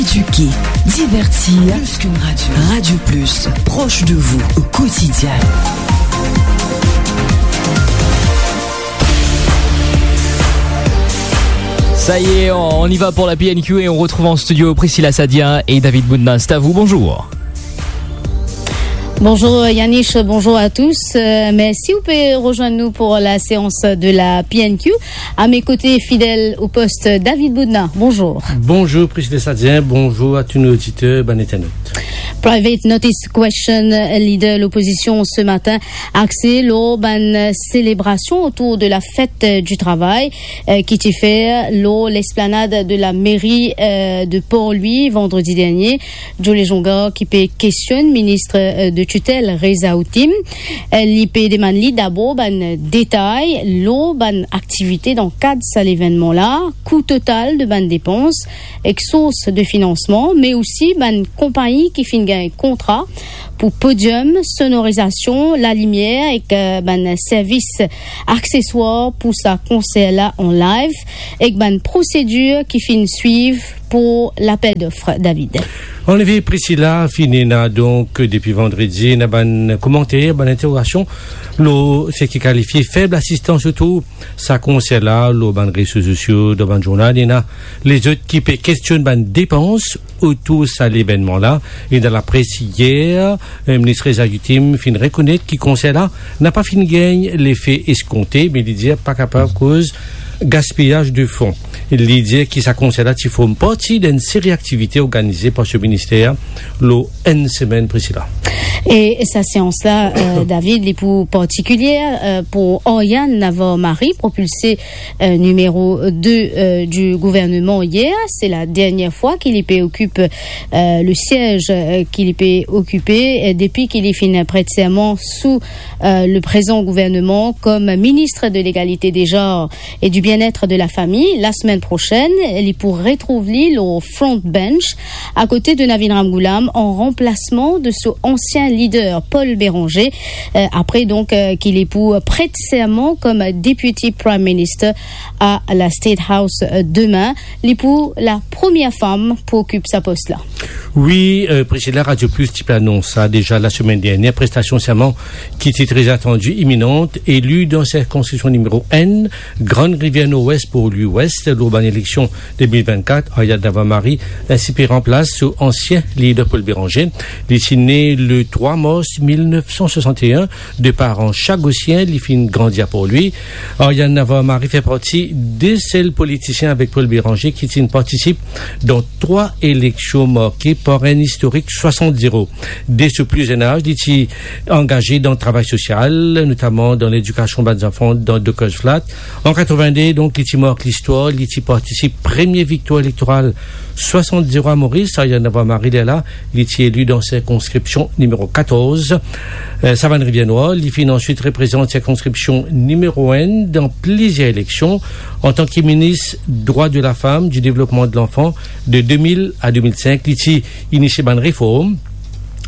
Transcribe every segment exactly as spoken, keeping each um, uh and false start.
Éduquer, divertir, plus qu'une radio. Radio Plus, proche de vous au quotidien. Ça y est, on, on y va pour la P N Q et on retrouve en studio Priscilla Sadien et David Boudna. C'est à vous, bonjour. Bonjour Yanis, bonjour à tous. Euh, merci, vous pouvez rejoindre nous pour la séance de la P N Q. À mes côtés, fidèle au poste, David Boudna. Bonjour. Bonjour Priscilla Sadien, bonjour à tous nos auditeurs, bann internautes. Private Notice Question, leader l'opposition ce matin, axe lor bann selebrasion otour de la fèt du travay, euh, ki ti fer lor lesplanad de la mairie, euh, de Port-Louis vandredi dernie. Joe Lejonga ki pe kestionn minis, euh, de titel Reza Hatim. Euh, li pe demann li dabor bann detay lor bann aktivite dan kad sa levennman la, kou total de bann depans, ek sours de finansman, me osi bann konpagni ki finn gagn kontra pou podium, sonorizasion, lalimier ek, euh, bann servis akseswar pou sa konser la an live, ek bann prosedir ki finn swiv pou lapel dof, David. Annefe, Priscilla, finn ena donk depi vandredi, ena bann komanter, bann interogasion lor seki kalifie feb asistans otour sa konser la, lor bann rezo sosio, dan bann zournal, ena lezot ki pe kestionn bann depans otour sa levennman la. E dan lapres yer, euh, minis Reza Hatim finn rekonet ki konser la napa finn gagn lefe eskonte, me li dir pa kapav koz gaspiyaz de fon. Li dir ki sa konser la ti form parti d'enn seri aktivite organize par so minister lor enn semenn, Priscilla. E sa seans la, euh, David, li pou partikilier, euh, pou Aryan Navarro Mari, propilse, euh, nimero de, euh, du gouverneman yer. Se la dernie fwa ki li pe okip, euh, le siez, euh, ki li pe okipe, euh, depi ki li finn pret serman sou, euh, le prezan gouverneman kom minis de legalite deza e du bien-être de la fami. La semenn prosenn, li pou retrouv li lor front bench akote de Navin Ramgoolam an ranplasman de so ansien lider Paul Bérenger. Euh, apre donk, euh, ki li pou pret serman kom Deputy Prime Minister a la State House, euh, demin. Li pou la premie fam pou okip sa pos la. Wi, euh, Priscilla, Radio Plus ti pe anons sa deza lasemenn dernie, prestasion serman ki ti tre atandi, iminan, eli dan sirkonskripsion nimero enn, Grann Rivier Nord-Ouest Port-Louis Ouest, lor bann eleksion de mil vennkat, Aryan Navarro Mari, ensi pe ranplas so ansien lider Paul Bérenger. Li ti ne le trwa mars mil nef san swasant-e-enn, de paran chagosien, li finn grandi a Port-Louis. Aryan Navarro Mari fer parti de sel politisien avek Paul Bérenger ki ti partisip dan trwa eleksion marke par enn istorik swasant zero. De so pli zenn az, li ti angaze dan travay sosial, notaman dan ledikasion bann zanfan dan Dockers Flat. An katrovin-de, donk, li ti mark listwar, li ti partisip premie viktwar elektoral swasant zero a Moris. Aryan Navarro Mari, lerla, li ti eli dan sirkonskripsion nimero katorz. Euh, Savane Rivière Noire, li finn answit reprezant sirkonskripsion nimero enn dan plizier eleksion. Antan ki minis drwa de lafam, di devlopman de lanfan, de de mil a de mil sink, li ti inisie bann reform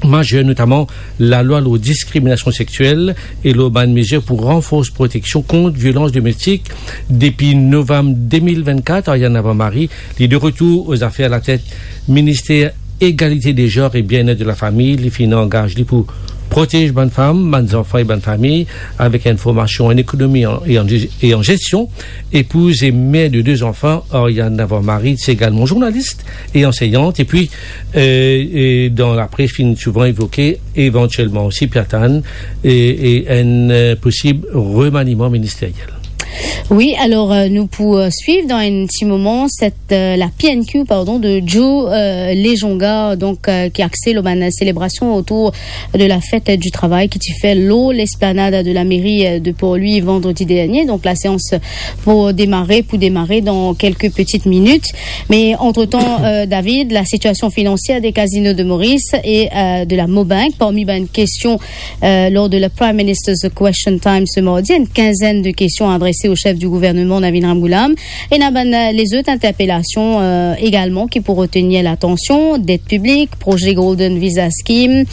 mazer, notaman lalwa lor diskriminasion sexiel e lor bann mezir pou ranfors proteksion kont violans domestik. Depi novam de mil vennkat, Aryan Navarro Mari, li de retour o zafer latet Minister Egalite de Zanr e Bien-Être de la Fami. Li finn angaz li pou protez bann fam, bann zanfan e bann fami avek enn formasion an ekonomi an, e an, e an zestion. Epouz e mer de de zanfan, Aryan Navarro Mari ti egalman zournalis e anseyant, epi, euh, e dan lapres finn souvan evoke evantielman osi Platane e, e enn, euh, posib remaniman ministeriel. Wi, alor, euh, nou pou, euh, swiv dan enn ti moman set, euh, la P N Q, pardon, de Joe, euh, Lejonga, donk, euh, ki axe lor bann selebrasion otour de la fête du travail ki ti fer lor lesplanad de la mairie, euh, de Port-Louis vandredi dernie. Donk, la seans pou demare, pou demare dan kelke peti minit. Me antretan, euh, David, la sitiasion finansier de Casino de Maurice e, euh, de la Mobank, parmi bann kestion, euh, lor de la Prime Minister's Question Time se mardi, enn kinzenn de kestion adrese au chef du gouvernement, Navin Ramgoolam. Ena bann, euh, lezot interpelasion, euh, egalman ki pou retenir latansion, det piblik, proze Golden Visa Scheme,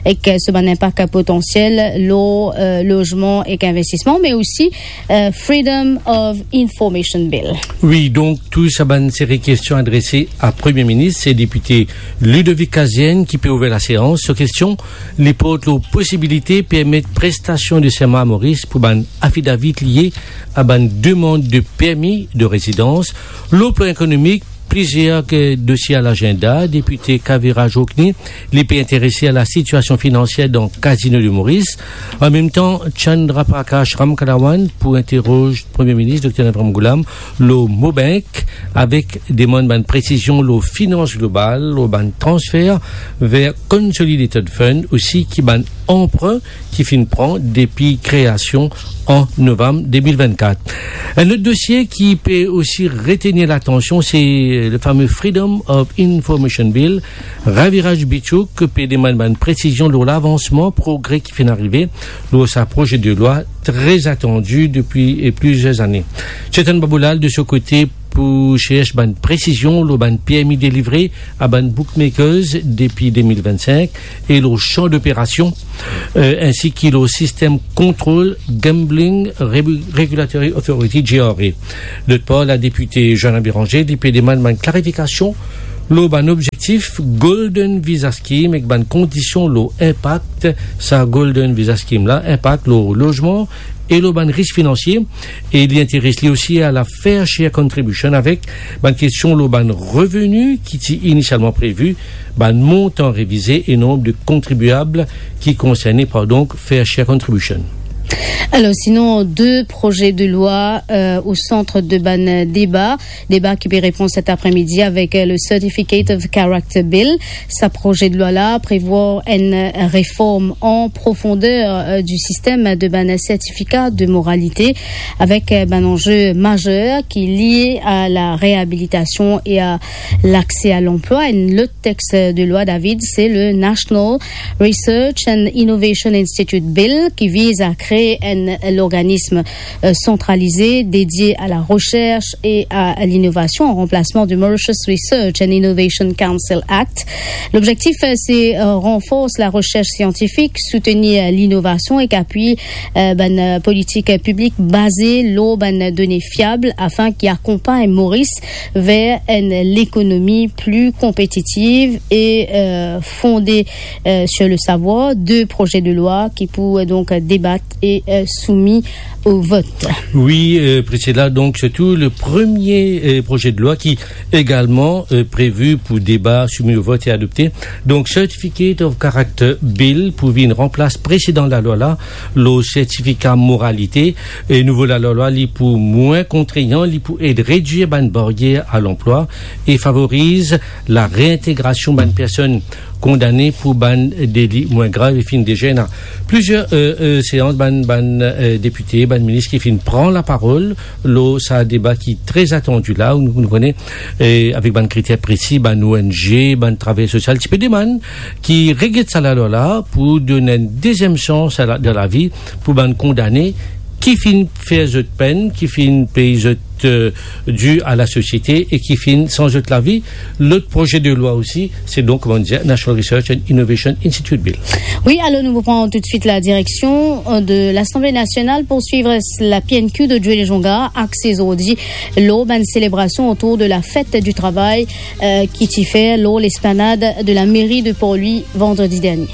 ek, euh, so bann inpak potansiel lor, euh, lozman ek investisman, me osi, euh, Freedom of Information Bill. Wi, donk tou sa bann seri kestion adrese a Premie Minis, se depite Ludovic Kazenn ki pe ouver laseans. So kestion, li port lor posibilite permet prestasion de serman a Moris pou bann afidavit lie a bann demann de permi de rezidans. Lor plan ekonomik, plizier, euh, dosie a lagenda. Depite Kavira Jokni, li pe interese a la sitiasion finansier dan Casino de Maurice. An mem tan, Chandra Prakash Ramkalawan pou interroz Premie Minis Dokter Navin Ramgoolam lor Mobank, avek demann bann presizion lor finans global, lor bann transfer ver Consolidated Fund, osi ki bann anprin ki finn pran depi kreasion an novam de mil vennkat. Enn lot dosie ki pe osi retenir latansion, se le fame Freedom of Information Bill. Raviraj Bichouk pe demann bann presizion lor lavansman, progre ki finn arive lor sa proze de lwa tre atandi depi, eh, plizier zane. Chetan Baboulal, de so kote, pou chersh bann presizion lor bann permi delivre a bann bookmakers depi de mil vennsink e lor san doperasion, euh, ensi ki lor sistem kontrol Gambling Rebu-, Regulatory Authority, G R A. Lot par, la depite Joanna Béranger, li pe demann bann klarifikasion lor bann objektif Golden Visa Scheme ek bann kondision lor inpak sa Golden Visa Scheme la, inpak lor lozman e lor bann risk finansie, e li interes li osi a la Fair Share Contribution avek bann kestion lor bann reveni ki ti inisialman previ, bann montan revize e nonb de kontribiab ki konserne par donk Fair Share Contribution. Alor, sinon, de proze de lwa, euh, o sant de bann deba, deba ki pe repran set apremidi avek, euh, le Certificate of Character Bill. Sa proze de lwa la prevwar enn reform an profonder, euh, du sistem de bann sertifika de moralite, avek, euh, bann anze mazer ki lie a la reabilitasion e a lakse a lanplwa. Enn lot text de lwa, David, se le National Research and Innovation Institute Bill, ki viz a kree enn lorganism, euh, santralize dedie a la recherche et à l'innovation en remplacement du Mauritius Research and Innovation Council Act. Lobzektif, euh, se, euh, ranfors la recherche scientifique, soutenir, euh, l'innovation ek apwiy, euh, bann, euh, politik, euh, piblik baze lor bann done fiab afin ki akonpagn Moris ver enn lekonomi pli konpetitiv e, euh, fonde, euh, sur le savoir. De proze de lwa ki pou, euh, donk, debat e, euh, soumi o vot. Wi, euh, Priscilla, donk, sirtou le premie, euh, proze de lwa ki egalman, euh, previ pou deba, soumi o vot e adopte. Donk, Certificate of Character Bill pou vinn ranplas presedan lalwa la, lor sertifika moralite. E nouvo lalwa la, li pou mwin kontrayan, li pou ed redwir bann baryer a lanplwa e favoriz la reintegrasion bann personn kondane pou bann deli mwin grav. E finn deza ena plizier, euh, euh, seans, bann, bann, euh, depite, bann minis ki finn pran laparol lor sa deba ki tre atandi la, ou nou, nou kone, euh, avek bann kriter presi, bann O N G, bann travayer sosial, ti pe demann ki reget sa lalwa la pou donn enn deziem sans a la, dan lavi pou bann kondane ki finn fer zot penn, ki finn pey zot, euh, di a lasosiete e ki finn sanz zot lavi. Lot proze de lwa osi, se donk, kouma nou dir, National Research and Innovation Institute Bill. Wi, alor nou pran toutswit la direksion, euh, de l'Assemblée nationale pour suivre la P N Q de Dieulezonga, axe zordi lor bann selebrasion otour de la fête du travail, euh, ki ti fer lor lesplanad de la mairie de Port-Louis vandredi dernier.